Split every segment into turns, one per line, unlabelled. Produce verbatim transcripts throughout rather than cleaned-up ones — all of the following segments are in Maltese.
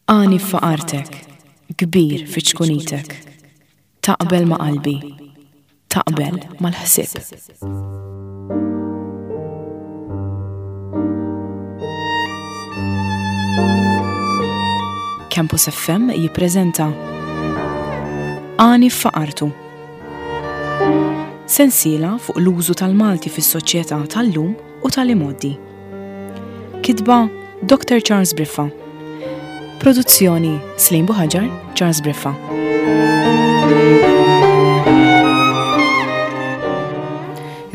Għani f'faqartek, kbir fi ċkunitek. Taqbel ma' qalbi, taqbel mal-ħsieb. Campus F M jippreżenta Għani f'Faqartu. Sensiela fuq l-użu tal-Malti fis-soċjetà tal-lum u tal-imgħoddi. Kitba Doctor Charles Briffa. Produzzjoni Slim Buhaġar, Charles Briffa.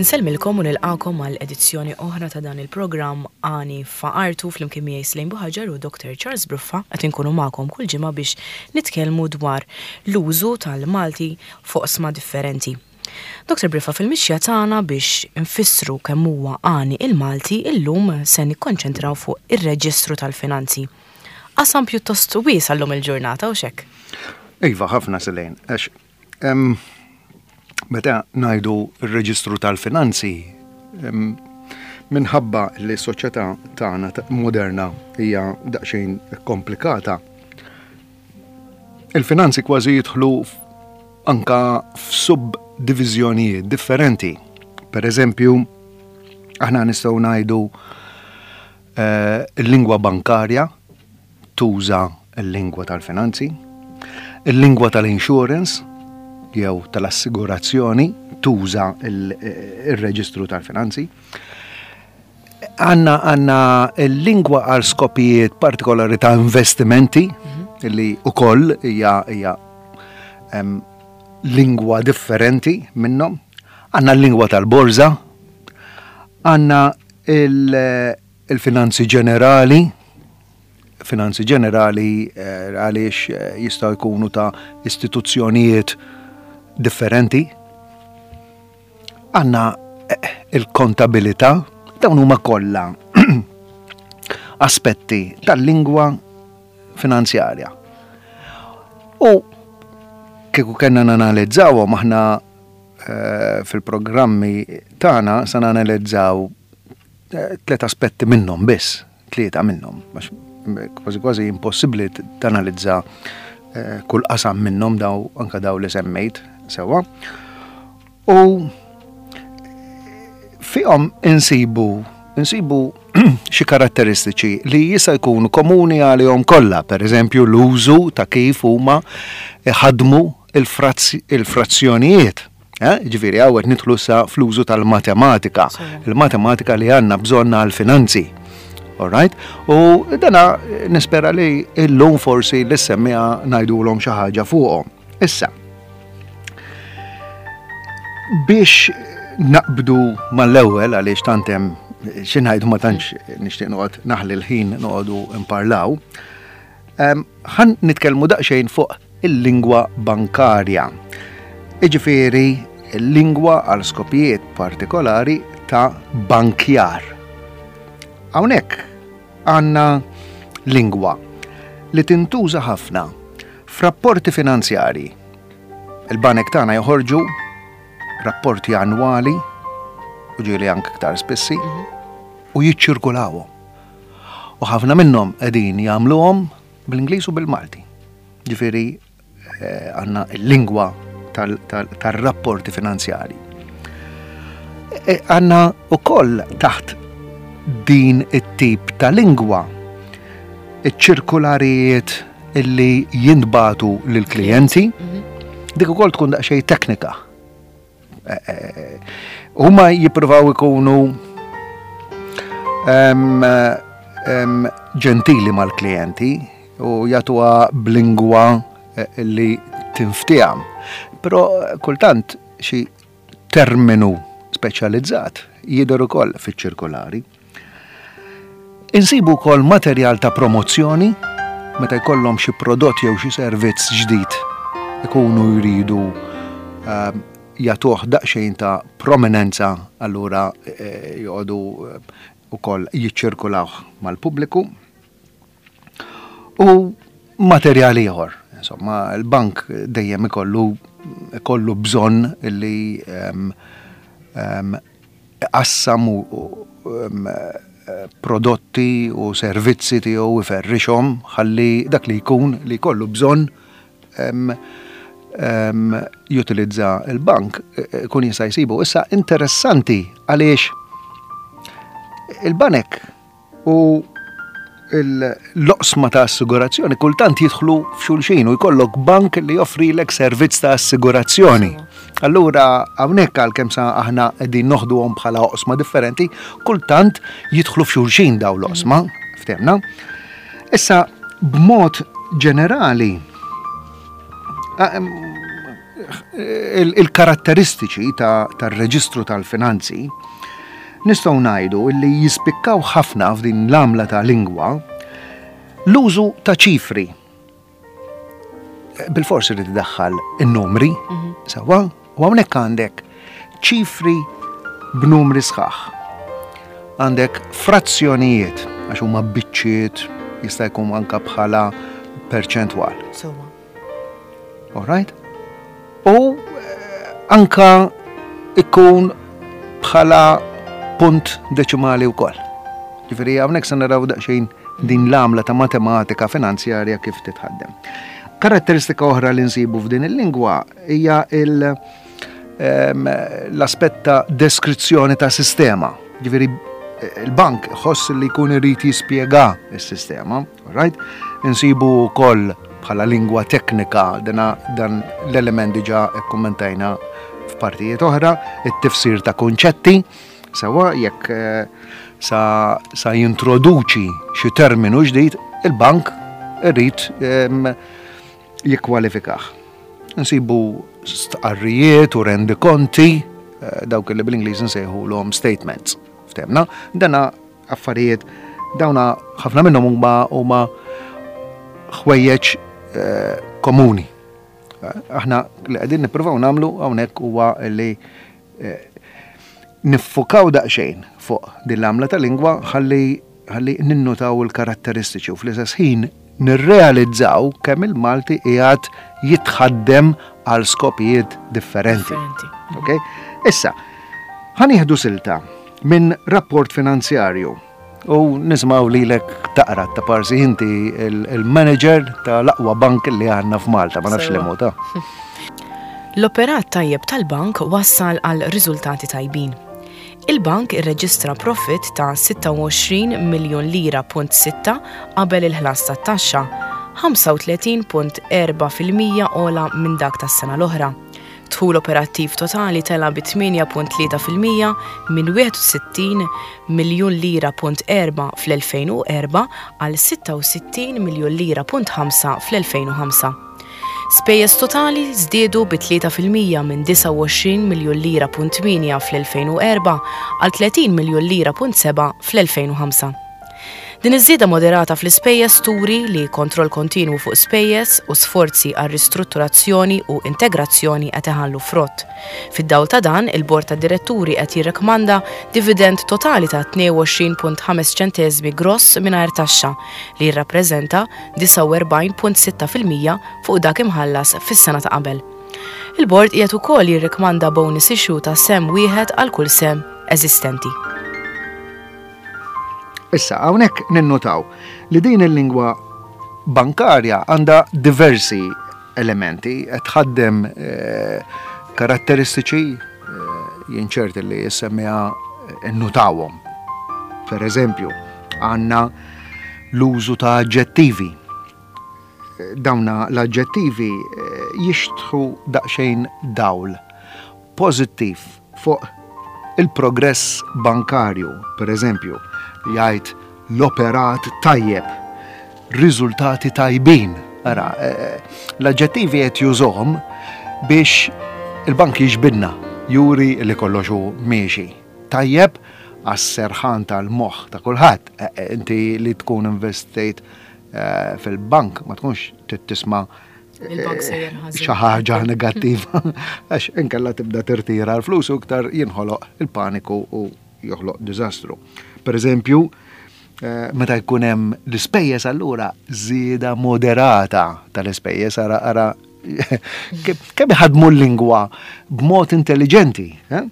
Nsellmilkom u nilqakom għal edizzjoni oħra ta' dan il-programm Għani Faqartu flimkien miegħi Slim Buhaġar u Doctor Charles Briffa qed inkunu magħkom kull ġimgħa biex nitkellmu dwar l-użu tal-Malti fuq oqsma differenti. Doctor Briffa, fil-mixja tagħna biex nfissru kemm huwa għani il-Malti, illum se nikkonċentraw fuq ir-reġistru tal-finanzi. Qasam pjuttost wiesa' llum il-ġurnata, u x'hekk?
Iva, ħafna Selene, għax, em, meta ngħidu r-reġistru tal-finanzi, em, minħabba li s-soċjetà tagħna ta-, moderna hija daqsxejn komplikata, il-finanzi kważi jidħlu f-, anka f'subdiviżjonijiet differenti. Per eżempju, aħna nistgħu ngħidu, eh, il-lingwa bankarja tuża l-lingwa tal-finanzi, il-lingwa tal-insurance jew tal-assigurazzjoni tuża il-, il-reġistru tal-finanzi. Għanna, għanna l-lingwa għal skopijiet partikolari ta' investimenti,
Mhm.
li ukoll hija, hija, em, lingwa differenti minnhom. Għanna l-lingwa tal-borża, għanna il-, il-finanzi ġenerali, finanzi ġenerali, eh, għaliex, eh, jistgħu jkunu ta' istituzzjonijiet differenti. Għanna, eh, il-kontabilità, dawn huma kollha aspetti tal-lingwa finanzjarja. U kieku kellna nanalizzawhom aħna, eh, fil-programmi tagħna se nanalizzaw, eh, tliet aspetti minnhom biss, tlieta minnhom, għax kważi kważi impossibbli t-, tanalizza, eh, kull qasam minnhom daw, anka daw li semmejt sewwa. U fihom insibu, insibu xi karatteristiċi li jista' jkunu komuni għalihom kollha, per eżempju l-użu ta' kif huma ħadmu il-frazz-, il-frazzjonijiet. Eh, ġifieri hawn qed nidħlu sa fl-użu tal-matematika,
Sewwa.
il-matematika li għandna bżonn għall-finanzi. All right? U dana nispera li illum forsi li semmija ngħidulhom xi ħaġa fuqhom. Issa, biex naqbdu mal-ewwel għaliex tant hemm xi ngħidu ma tantx nixtieq noqgħod naħli l-ħin noqogħdu nparlaw, em, ħan nitkellmu daqsxejn fuq il-lingwa bankarja. Jiġifieri l-lingwa għal skopijiet partikolari ta' bankjar. Hawnhekk għandna lingwa li tintuża ħafna f'rapporti finanzjarji. Il-banek tagħna joħorġu rapporti annwali u ġieli anke iktar spissi
Mhm.
u jiċċirkulawhom. U ħafna minnhom qegħdin jagħmluhom bl-Ingliż u bil-Malti. Ġifieri, eh, għandna l-lingwa tal-, tal-, tar-rapporti finanzjarji. E, għandna wkoll taħt din it-tip ta' lingwa iċ-ċirkularijiet illi jintbagħtu lill-klijenti,
Mhm.
dik ukoll tkun daqsxejn teknika. E, e, huma jippruvaw ikunu, em, em, ġentili mal-klijenti u jagħtuha b'lingwa, eh, li tinftiham. Però kultant xi terminu speċjalizzat jidher ukoll fiċ-ċirkolari. Insibu wkoll materjal ta' promozzjoni meta jkollhom xi prodott jew xi servizz ġdid ikunu jridu, ehm, jagħtuh daqsxejn ta' prominenza, allura, eh, joqogħdu, eh, ukoll jiċċirkulawh mal-pubbliku. U materjal ieħor, insomma, il-bank dejjem ikollu, ikollu bżonn li, ehm, ehm, iqassam u, u, ehm, prodotti u servizzi tiegħu iferrixhom ħalli dak li jkun li jkollu bżonn jutilizza il-bank ikun jista' jsibu. Issa interessanti għaliex il-banek u l-oqsma ta' assigurazzjoni kultant jidħlu f'xulxin u jkollok bank li joffrilek servizz ta' assigurazzjoni. Allura hawnhekk għalkemm sa aħna qegħdin noħduhom bħala oqsma differenti, kultant jidħlu f'xulxin dawn l-oqsma, ftehmna. Issa b'mod ġenerali il-karatteristiċi tar-reġistru tal-finanzi nistgħu ngħidu li jispikkaw ħafna f'din l-għamla ta' lingwa l-użu ta' ċifri. Bilfors irid iddaħħal in-numri, sewwa, u hawnhekk għandek ċifri b'numri sħaħ. Għandek frazzjonijiet, għax huma biċċiet, jista' jkun anka bħala perċentwal.
Sewwa.
All right? U anka ikun bħala punt deċimali wkoll. Ġifieri hawnhekk se naraw daqsxejn din l-għamla ta' matematika finanzjarja kif titħaddem. Karatteristika oħra li nsibu f'din il-lingwa hija l-aspett ta' deskrizzjoni ta' sistema. Ġifieri il-bank ħoss li jkun irid jispjega s-sistema, right? Insibu wkoll bħala lingwa teknika dana dan l-element diġà kkummentajna f'partijiet oħra, it-tifsir ta' kunċetti, sewwa jekk sa, sa jintroduċi xi terminu ġdid, il-bank irid jikkwalifikah. Nsibu stqarrijiet u rendikonti, dawk li bl-Ingliż nsejħulhom statements. Ftehmna, dana affarijiet dawna ħafna minnhom huma huma ħwejjeġ komuni. Aħna li qegħdin nippruvaw nagħmlu hawnhekk huwa li niffukaw daqsxejn fuq din l-għamla ta' lingwa ħalli ħalli ninnutaw il-karatteristiċi u fl-istess ħin nirrealizzaw kemm il-Malti qiegħed jitħaddem għal skopijiet differenti. Okay? Issa, ħa nieħdu silta minn rapport finanzjarju u nismaw lilek taqra ta' parsi inti il-manager tal-aqwa bank li għandna f'Malta, ma nafx li ta'.
L-operat tajjeb tal-bank wassal għal riżultati tajbin. Il-bank irreġistra profit ta' sitta u għoxrin miljun lira punt sitta qabel il-ħlas tat-taxxa, ħamsa u tletin punt erbgħa fil-mija ogħla minn dak tas-sena l-oħra. Dħul operattiv totali tela bi tmienja punt tlieta fil-mija minn wieħed u sittin miljun lira punt erbgħa fl-elfejn u erbgħa għal sitta u sittin miljun lira punt ħamsa fl-elfejn u ħamsa. Spejjeż totali żdiedu bi tlieta fil-mija minn disgħa u għoxrin miljun lira punt tmienja fl-elfejn u erbgħa għal tletin miljun lira punt sebgħa fl-elfejn u ħamsa. Din iż-żieda moderata fl-ispejjeż turi li kontroll kontinwu fuq spejjeż u sforzi għal ristrutturazzjoni u integrazzjoni qed iħallu frott. Fid-dawl ta' dan, il-Bord tad Diretturi qed jirrekmanda dividend totali ta' tnejn u għoxrin punt ħames ċenteżmi gross mingħajr taxxa li jirrappreżenta disgħa u erbgħin punt sitta fil-mija fuq dak imħallas fis-sena ta' qabel. Il-bord qiegħed ukoll jirrekmanda bonus issue ta' sehem wieħed għal kull sehem eżistenti.
Issa, hawnhekk ninnotaw li din il-lingwa bankarja għandha diversi elementi, qed tħaddem eh, karatteristiċi eh, jien ċert li jissemmiha nnotawhom. Per eżempju, għandna l-użu ta' aġġettivi. Dawna l-aġġettivi eh, jixtħu daqsxejn dawl pożittiv fuq il-progress bankarju, per eżempju, jgħid l-operat tajjeb, riżultati tajbin. Ara, eh, l-aġġettivi qed jużhom biex il-bank jiġbidna, juri li kollox hu miexi. Tajjeb għas-serħan tal-moħħ ta' kulħadd. Eh, eh, inti li tkun investejt fil-bank ma tkunx tisma'
Il-bank sejjer ħażin.
Xi ħaġa negattiva, għax inkella tibda tirtira l-flus u iktar jinħoloq il-paniku u joħloq diżastru. Per eżempju, meta jkun hemm l-ispejjeż, allura żieda moderata tal-ispejjeż. Ara, ara kemm iħadmu l-lingwa b'mod intelligenti. Eh?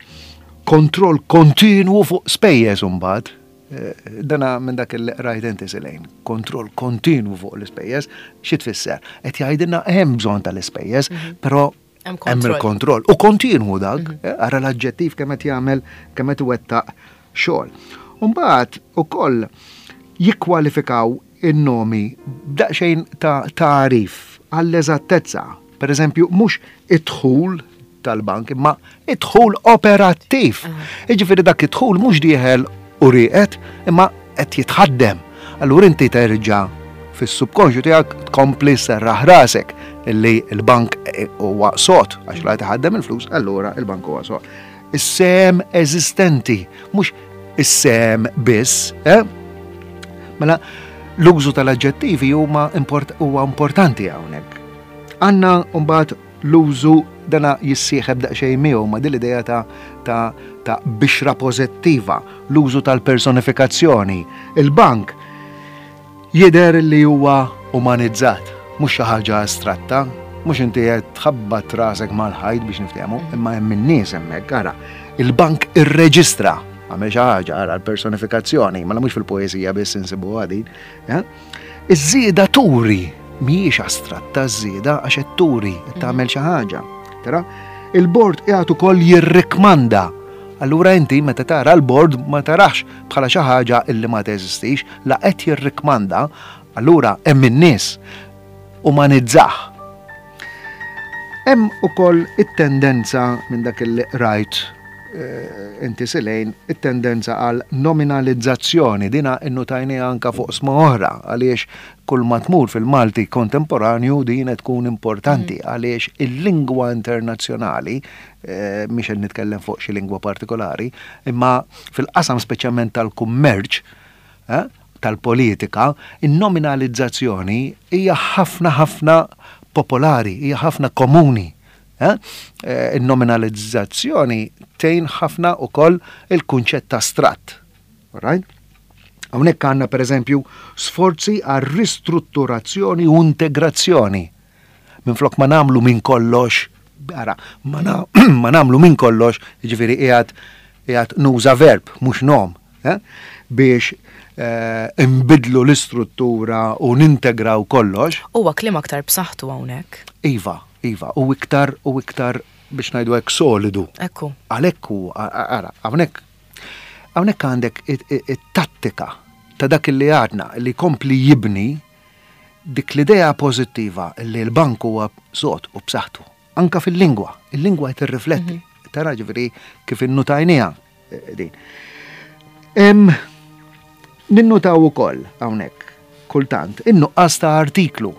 Kontroll kontinwu fuq spejjeż imbagħad. Dana minn dak il-rajt inti silejn, kontroll kontinu fuq l-ispejjeż, xi tfisser? Qed jgħidilna hemm bżonn tal-ispejjeż, però hemm il-kontroll. U kontinwu dak, ara l-aġġettiv kemm qed jagħmel, kemm qed iwettaq xogħol. Mbagħad ukoll jikkwalifikaw in-nomi b'daqsxejn ta' tagħrif għall-eżattezza. Per eżempju, mhux id-dħul tal-bank, imma id-dħul operattiv. Jiġifieri dak id-dħul mhux dieħel u rieqed, imma qed jitħaddem. Allura inti terġa' fis-subkonxju tiegħek tkompli serraħ rasek illi l-bank huwa sod, għax la jitħaddem il-flus, allura il-bank huwa sod. Is-sehem eżistenti, mhux is-sehem biss, eh? Mela l-użu tal-aġġettivi huma huwa importanti hawnhekk. Għandna mbagħad l-użu dana jissieħeb daqsxejn miegħu ma' din l-idea ta' ta' ta' bixra pożittiva, l-użu tal-personifikazzjoni. Il-bank jidher li huwa umanizzat, mhux xi ħaġa astratta, mhux inti qed tħabbat rasek mal-ħajt biex niftehmu, imma hemm in-nies hemmhekk, ara. Il-bank irreġistra, għamel xi ħaġa, ara l-personifikazzjoni, mela mhux fil-poeżija biss insibuha din. Iż-żieda turi, mhijiex astratta ż-żieda għax qed turi, qed tagħmel xi ħaġa. Tara, il-bord qiegħed ukoll jirrikmanda. Allura inti meta tara l-bord ma tarax bħala xi ħaġa illi ma teżistix, la qed jirrikmanda, allura hemm in-nies umanizzah. Hemm ukoll it-tendenza minn dak li rajt inti silejn, it-tendenza għal nominalizzazzjoni, dina innutajniha anka fuq sma oħra, għaliex kull ma tmur fil-Malti kontemporanju din qed tkun importanti, għaliex il-lingwa internazzjonali, mhix qed nitkellem fuq xi lingwa partikolari, imma fil-qasam speċjalment tal-kummerċ, tal-politika, in-nominalizzazzjoni hija ħafna ħafna popolari, hija ħafna komuni. Il-nominalizzazzjoni tgħin ħafna ukoll il-kunċett ta' astratt. Right? Hawnhekk għandna pereżempju sforzi għal ristrutturazzjoni u integrazzjoni. Minflok ma nagħmlu minn kollox, ara, ma nagħmlu minn kollox, jiġifieri qiegħed qiegħed nuża verb mhux nom, biex imbidlu l-istruttura u nintegraw kollox.
Huwa kliem aktar b'saħħtu hawnhekk.
Iva, iva, u iktar u iktar biex ngħidu hekk solidu.
Ekku.
Għalhekk hu, ara, hawnhekk hawnhekk għandek it-tattika ta' dak li għadna li kompli jibni dik l-idea pożittiva li l-bank huwa sod u b'saħħtu. Anka fil-lingwa, il-lingwa qed tirrifletti. Tara ġifieri kif innutajniha din. Ninnutaw ukoll hawnhekk kultant in-nuqqas ta' artiklu.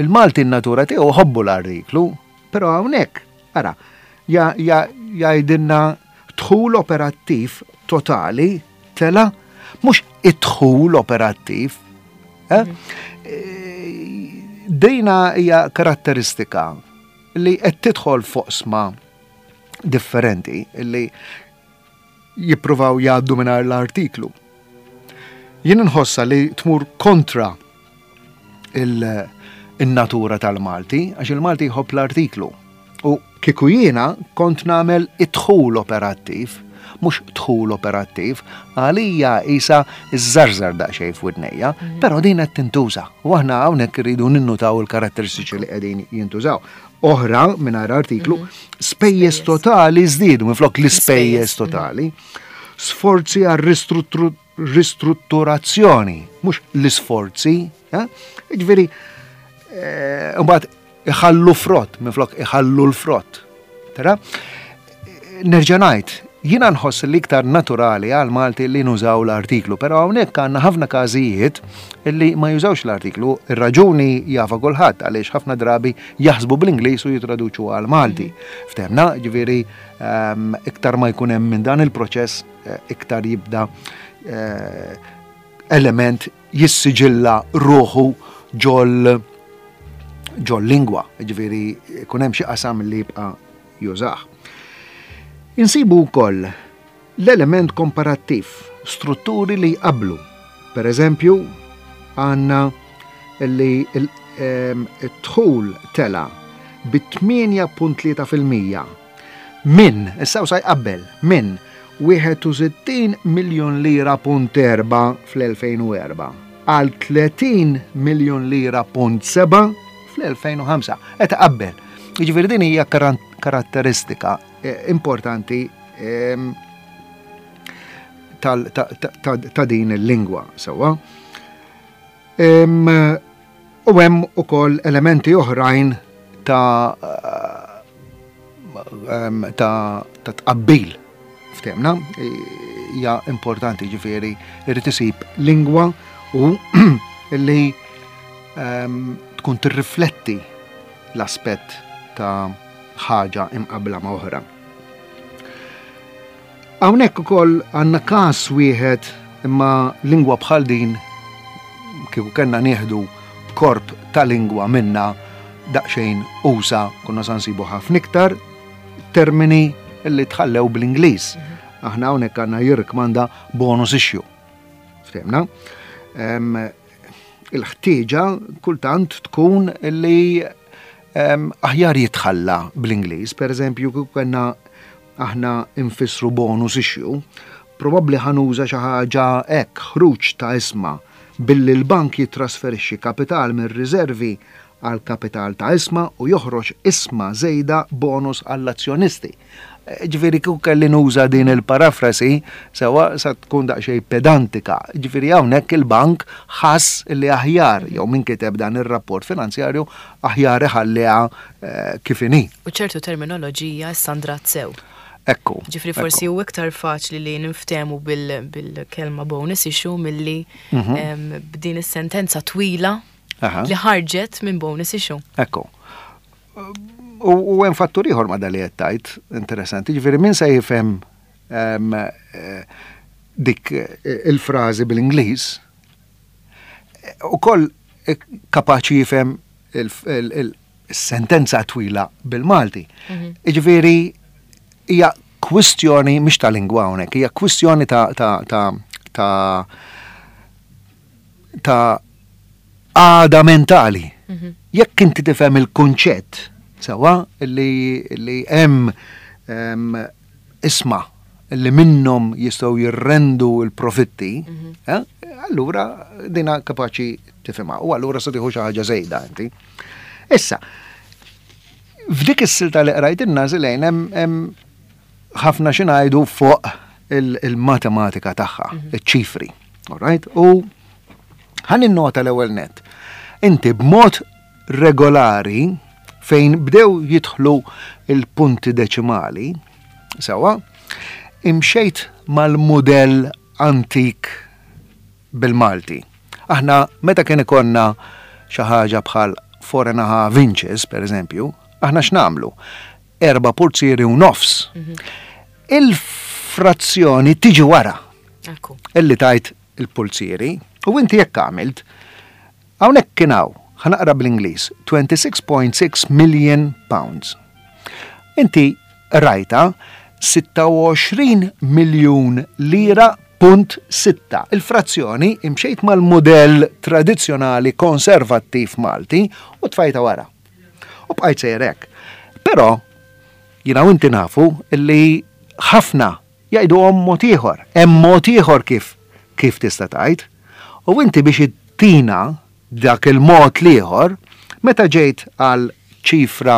Il-Malti n-natura tiegħu ħobbu l-artiklu, però hawnhekk ara jgħidilna dħul operattiv totali tela, mhux id-dħul operattiv. Dejna hija karatteristika li qed tidħol foqsma differenti li jippruvaw jgħaddu mingħajr l-artiklu. Jien nħossa li tmur kontra il-natura tal-Malti, għax il-Malti jħobb l-artiklu. U kieku jiena kont nagħmel id-dħul operattiv, mhux dħul operattiv, għalija isa iż-żarżar daqsxejn f'widnejja, però din qed tintuża. U aħna hawnhekk irridu ninnutaw il-karatteristiċi li qegħdin jintużaw. Oħra mingħajr artiklu, spejjeż totali żdiedu minflok l-ispejjeż totali. Sforzi għal ristrutturazzjoni, mhux l-isforzi, jiġifieri mbagħad iħallu frott minflok iħallu l-frott. Tara? Nerġa' ngħid, jiena nħoss li iktar naturali għal Malti li nużaw l-artiklu, però hawnhekk għandna ħafna każijiet li ma jużawx l-artiklu. Ir-raġuni jafa kulħadd għaliex ħafna drabi jaħsbu bl-Ingliż u jitraduċu għal Malti. Ftehmna, ġifieri iktar ma jkun hemm minn dan il-proċess, iktar jibda element jissiġilla ruħu ġol ġol lingwa, ġifieri jkun hemm xi qasam li jibqa' jużah. Insibu wkoll l-element komparattiv, strutturi li jqablu. Per eżempju, għandna li d-dħul tela bi tmienja punt tlieta fil-mija minn, issa sa jqabbel, minn wieħed u sittin miljun lira punt erba' fl-elfejn u erbgħa għal tletin miljun lira punt sebgħa fl-elfejn u ħamsa. Qed qabel. Jiġifieri din hija karatteristika eh, importanti ehm, ta' din il-lingwa, sewwa. U hemm ukoll elementi oħrajn ta' ta' tqabbil ftemna, hija importanti, ġifieri irid isib lingwa u li tkun tirrifletti l-aspett ta' ħaġa imqabla ma' oħra. Hawnhekk ukoll għandna każ wieħed, imma lingwa bħal din kieku kellna nieħdu korp ta' lingwa minna daqsxejn usa', konna sa nsibu ħafna iktar termini li tħallew bl-Ingliż. Aħna hawnhekk għandna jirrikmanda bonus issue. Ftemna? Il-ħtieġa kultant tkun li aħjar jitħalla bl-Ingliż. Per eżempju, kieku kellna aħna infissru bonus issue, probabbli ħa nuża xi ħaġa hekk: ħruġ ta' ishma billi l-bank jitrasferixxi kapital mir-riservi għal kapital ta' ishma u joħroġ ishma żejda bonus għall-azzjonisti. Ġifieri kieku kelli nuża din il-parafrasi, sewwa, sa tkun daqsxejn pedantika. Ġifieri hawnhekk il-bank ħass li aħjar, jew min kiteb dan ir-rapport finanzjarju, aħjar iħalliha eh, kif inhi.
U ċertu terminoloġija standard sew.
Ekku.
Ġifieri forsi u iktar faċli li niftemu bil-kelma bonus issue milli mhm. b'din is-sentenza twila li ħarġet minn bonus issue.
Ekku. U hemm fattur ieħor ma' dali qed tgħid interessanti, ġifieri min se jifhem eh, dik eh, il-frażi bil-Ingliż ukoll kapaċi jifhem il-sentenza twila bil-Malti. Mhm. Ġifieri hija kwistjoni mhix ta' lingwa hawnhekk, hija kwistjoni ta' ta' ta' ta' ta' għada mentali. Mhm. Jekk inti tifhem il-kunċett sewwa li li hemm ishma li minnhom jistgħu jirrendu l-profitti, mhm. eh, allura dina kapaċi tifhimha u allura se tieħu xi ħaġa żejda inti. Issa, f'dik is-silta li qrajt in-nażilejn hemm ħafna xi ngħidu fuq il-matematika tagħha, mhm. iċ-ċifri. Alright? U ħa ninnota l-ewwel net. Inti b'mod regolari fejn bdew jidħlu il-punti deċimali, sewwa, imxejt mal-modell antik bil-Malti. Aħna meta kien ikollna xi ħaġa bħal four and a half inches, per eżempju, aħna x'nagħmlu? Erba' pulzieri u nofs. Il-frazzjoni tiġi wara. Illi tajt il-pulzieri u inti jekk għamilt hawnhekk kien hawn, ħa naqra bl-Ingliż, twenty-six point six million pounds. Inti rajta sitta u għoxrin miljun lira punt sitta. Il-frazzjoni imxejt mal-modell tradizzjonali konservattiv Malti u tfajta wara. U bqajt sejrek. Però, jiena u inti nafu illi ħafna jgħidu għom mod ieħor. Hemm mod ieħor kif kif tista' tgħid. U inti biex ittina dak il-mod l-ieħor, meta ġejt għal ċifra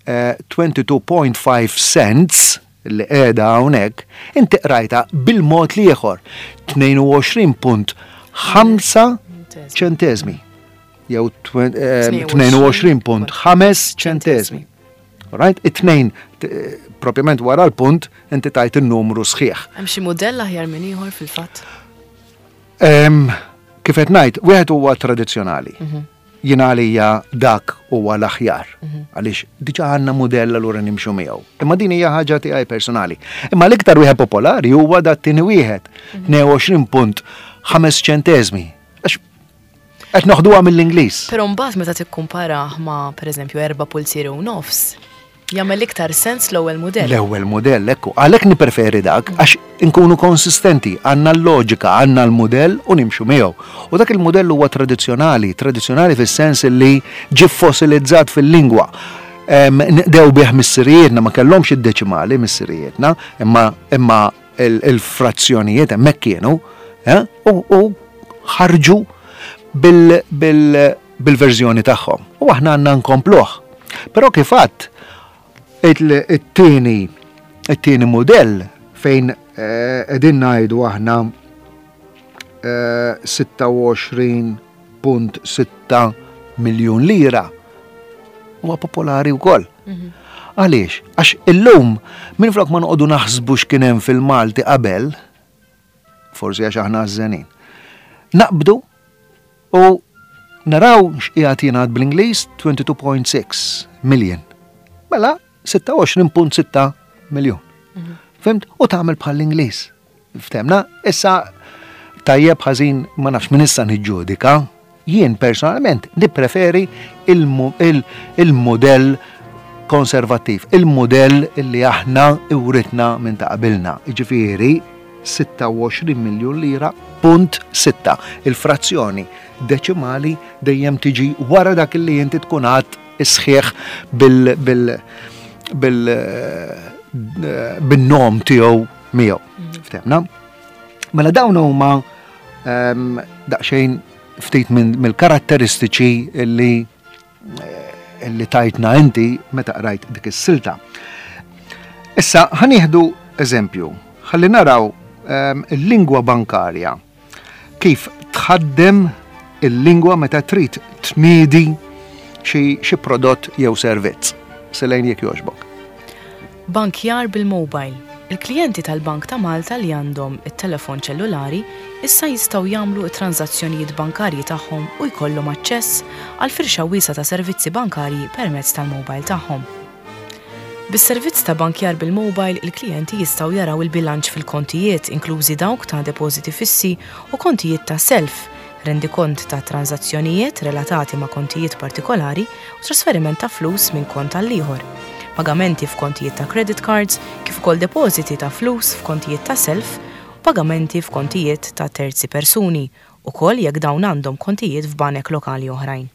eh, twenty-two point five cents li qiegħda hawnhekk, inti qrajta bil-mod l-ieħor tnejn u għoxrin punt ħamsa ċentesmi jew tnejn u għoxrin punt ħamsa ċentesmi. Right? It-tnejn propjament wara l-punt inti tajt il-numru sħiħ.
Hemm xi mudell aħjar minn ieħor fil-fatt?
Kif qed ngħid, wieħed huwa tradizzjonali. Mhm. Jiena għalija dak huwa l-aħjar. Mhm. Għaliex diġà għandna mudell, allura nimxu miegħu. Imma din hija ħaġa tiegħi personali. Imma l-iktar wieħed popolari huwa dat tieni wieħed, tnejn u għoxrin punt ħamsa ċentesmi. Għax qed noħduha mill-Ingliż.
Però mbagħad meta tikkumpara ma' pereżempju erba' pulzieri u nofs, jagħmel iktar sens l-ewwel mudell.
L-ewwel mudell, ekku. Għalhekk nippreferi dak, għax inkunu konsistenti, għandna l-loġika, għandna l-mudell u nimxu miegħu. U dak il-mudell huwa tradizzjonali, tradizzjonali fis-sens li ġie fossilizzat fil-lingwa. Nqdew bih missirijietna, ma kellhomx id-deċimali missirijietna, imma imma il-frazzjonijiet hemmhekk kienu, u ħarġu bil-verżjoni tagħhom. U aħna għandna nkompluh. Però kif għadt it-tieni it-tieni mudell fejn qegħdin ngħidu aħna sitta u għoxrin punt sitta miljun lira huwa popolari wkoll. Għaliex? Għax illum minflok ma noqogħdu naħsbu x'kien hemm fil-Malti qabel, forsi għax aħna għażżenin, naqbdu u naraw x'qiegħed jingħad bl-Ingliż twenty-two point six million. Mela sitta u għoxrin punt sitta miljun. Fimt? U tagħmel bħall-Ingliż. Ftemna? Issa tajjeb ħażin ma nafx min issa niġġudika. Jien personalment nippreferi il-modell konservattiv, il-modell li aħna uritna minn ta' qabilna. Jiġifieri sitta u għoxrin miljun lira punt sitta. Il-frazzjoni deċimali dejjem tiġi wara dak li inti tkun għad isħiħ bil-, bil-, bil-, bin-nom tiegħu miegħu. Ftemna? Mela dawn huma, ehm, daqsxejn ftit minn, mill-karatteristiċi li, eh, li tajtna inti meta qrajt dik is-silta. Issa ħanieħdu eżempju, ħalli naraw, ehm, il-lingwa bankarja kif tħaddem il-lingwa meta trid tniedi xi, xi prodott jew servizz. Selejn jekk jogħġbok.
Bankjar bil-mobile. Il-klijenti tal-Bank ta' Malta li għandhom it-telefon ċellulari issa jistgħu jagħmlu t-transazzjonijiet bankarji tagħhom u jkollhom aċċess għal firxa wiesgħa ta' servizzi bankarji permezz tal-mobile tagħhom. Bis-servizz ta' bankjar bil-mobile, il-klijenti jistgħu jaraw il-bilanċ fil-kontijiet, inklużi dawk ta' depożiti fissi u kontijiet ta' self, rendikont ta' transazzjonijiet relatati ma' kontijiet partikolari u trasferiment ta' flus minn kont għal ieħor, pagamenti f'kontijiet ta' credit cards, kif ukoll depożiti ta' flus f'kontijiet ta' self u pagamenti f'kontijiet ta' terzi persuni, ukoll jekk dawn għandhom kontijiet f'banek lokali oħrajn.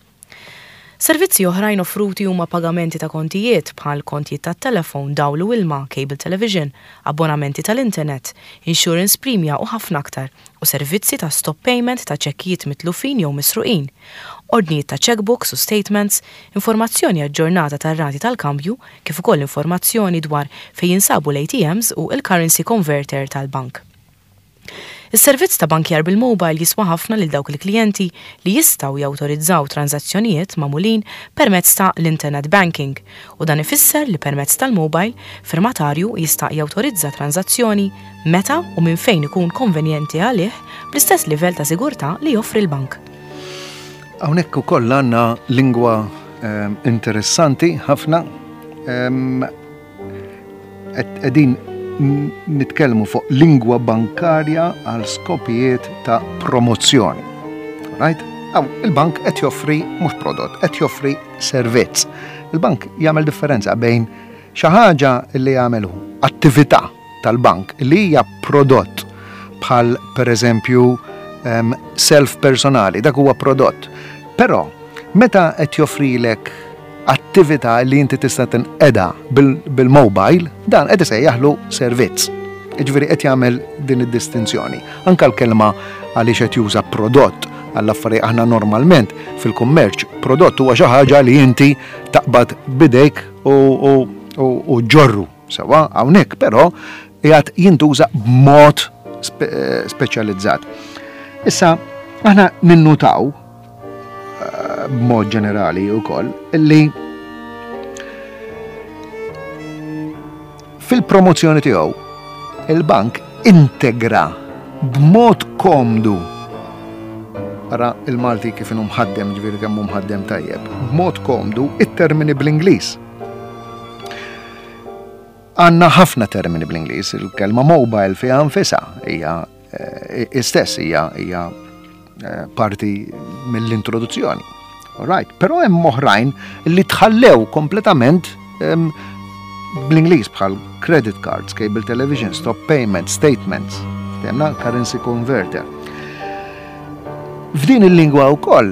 Servizzi oħrajn offruti huma pagamenti ta' kontijiet bħal kontijiet ta' telefon, dawl u ilma, cable television, abbonamenti tal-internet, insurance premia u ħafna aktar, u servizzi ta' stop payment ta' ċekkijiet mitlufin jew misruqin, ordnijiet ta' checkbooks u statements, informazzjoni aġġornata tar-rati tal-kambju, kif ukoll informazzjoni dwar fejn jinsabu l-A T Ms u il-currency converter tal-bank. Is-servizz ta' bankjar bil-mobile jiswa ħafna lil dawk il-klijenti li jistgħu jawtorizzaw transazzjonijiet magħmulin permezz ta' l-internet banking, u dan ifisser li permezz tal-mobile firmatarju jista' jawtorizza transazzjoni meta u minn fejn ikun konvenjenti għalih bl-istess livell ta' sigurtà li joffri l-bank.
Hawnhekk ukoll għandna lingwa, ehm, interessanti ħafna. Ehm, qegħdin nitkellmu fuq lingwa bankarja għal skopijiet ta' promozzjoni. Right? Aw, il-bank qed joffri mhux prodott, qed joffri servizz. Il-bank jagħmel differenza bejn xi ħaġa li jagħmel hu, attività tal-bank li hija prodott bħal pereżempju, ehm, self personali, dak huwa prodott. Però meta qed joffrilek attività li inti tista' tinqeda bil-, bil-mobile, dan qed isejjaħlu servizz. Jiġifieri qed jagħmel din id-distinzjoni. Anka l-kelma għaliex qed juża prodott għall-affarijiet aħna normalment fil-kummerċ, prodott huwa xi ħaġa li inti taqbad bidejk u, u, u, u ġorru. Sewa hawnhekk però qiegħed jintuża b'mod spe-, speċjalizzat. Issa aħna ninnutaw b'mod ġenerali wkoll illi fil-promozzjoni tiegħu il-bank integra b'mod komdu, ara il-Malti kif inhu mħaddem, ġifieri kemm hu mħaddem tajjeb, b'mod komdu it-termini bl-Ingliż. Għandna ħafna termini bl-Ingliż, il-kelma mobile fiha nfisha hija, eh, istess hija, hija, eh, parti mill-introduzzjoni. All right, però hemm oħrajn li tħallew kompletament, ehm, bl-Ingliż bħal credit cards, cable television, stop payment, statements, temna currency converter. F'din il-lingwa wkoll,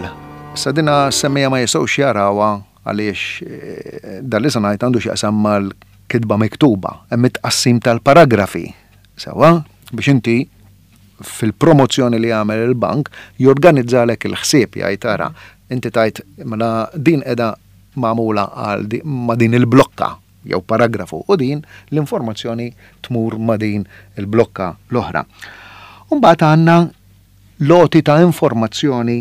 sa dina semmija ma jistgħux jarawha Għaliex eh, dan li se ngħid għandu x'jaqsam mal-kitba miktuba, hemm it-tqassim tal-paragrafi. Sewwa, biex inti fil-promozzjoni li jagħmel il-bank jorganizzalek il-ħsieb, jgħid tara, inti tajt mela din qiegħda magħmula għal ma' din il-blokka jew paragrafu u din l-informazzjoni tmur ma' din il-blokka l-oħra. Umbagħad għandna l-għoti ta' informazzjoni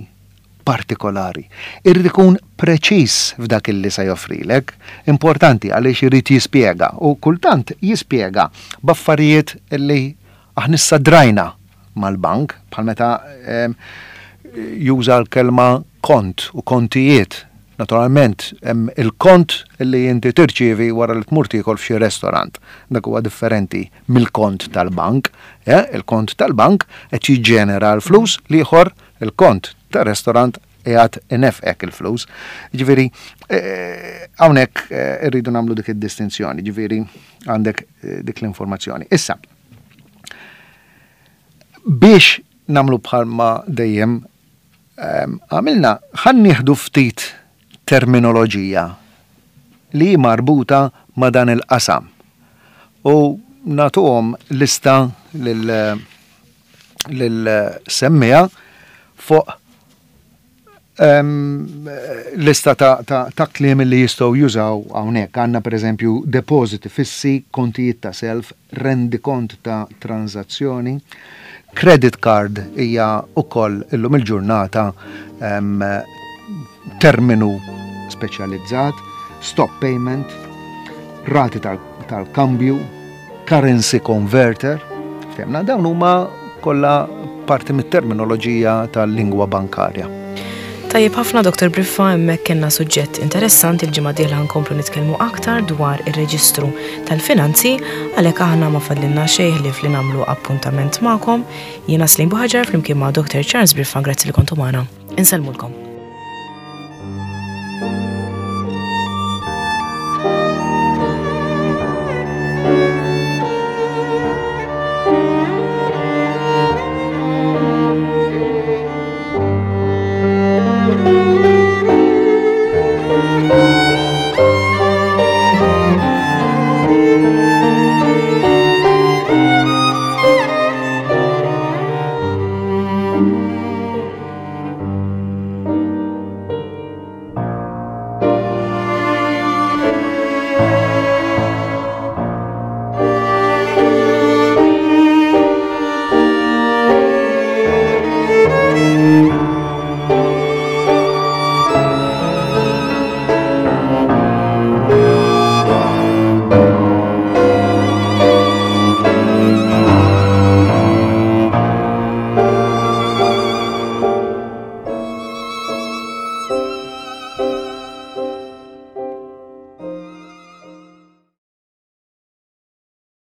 partikolari. Irrid ikun preċiż f'dak illi se joffrilek, importanti għaliex irid jispjega u kultant jispjega b'affarijiet illi aħna issa drajna mal-bank, bħal meta juża l-kelma kont u kontijiet. Naturalment, hemm il-kont li inti tirċievi wara li tmur tiekol f'xi restorant. Dak huwa differenti mill-kont tal-bank. Il-kont tal-bank qed jiġġenera l-flus, l-ieħor, il-kont tar-restorant, qiegħed inefqek il-flus. Ġifieri, hawnhekk irridu nagħmlu dik id-distinzjoni, ġifieri għandek dik l-informazzjoni. Issa, biex nagħmlu bħalma dejjem għamilna, ħa nieħdu ftit terminoloġija li marbuta ma' dan il-qasam. U nagħtuhom lista lil semmija fuq lista ta', ta, ta' kliem li jistgħu jużaw hawnhekk. Għandna, pereżempju, depositi fissi, kontijiet ta' self, rendikont ta' tranzazzjoni, credit card hija ukoll illum il-ġurnata terminu speċjalizzat, stop payment, rati tal-kambju, currency converter, ftemna, dawn huma kollha parti mit-terminoloġija tal-lingwa bankarja.
Tajjeb ħafna, Doktor Briffa, hemmhekk kellna suġġett interessanti. Il-ġimgħa dieħla nkomplu nitkellmu aktar dwar ir-reġistru tal-finanzi, għalhekk aħna ma fadlilna xejn ħlief li nagħmlu appuntament magħkom. Jiena Slim Buħaġar flimkien ma' Doktor Charles Briffa, grazzi li kontu magħna. Insellmulkom.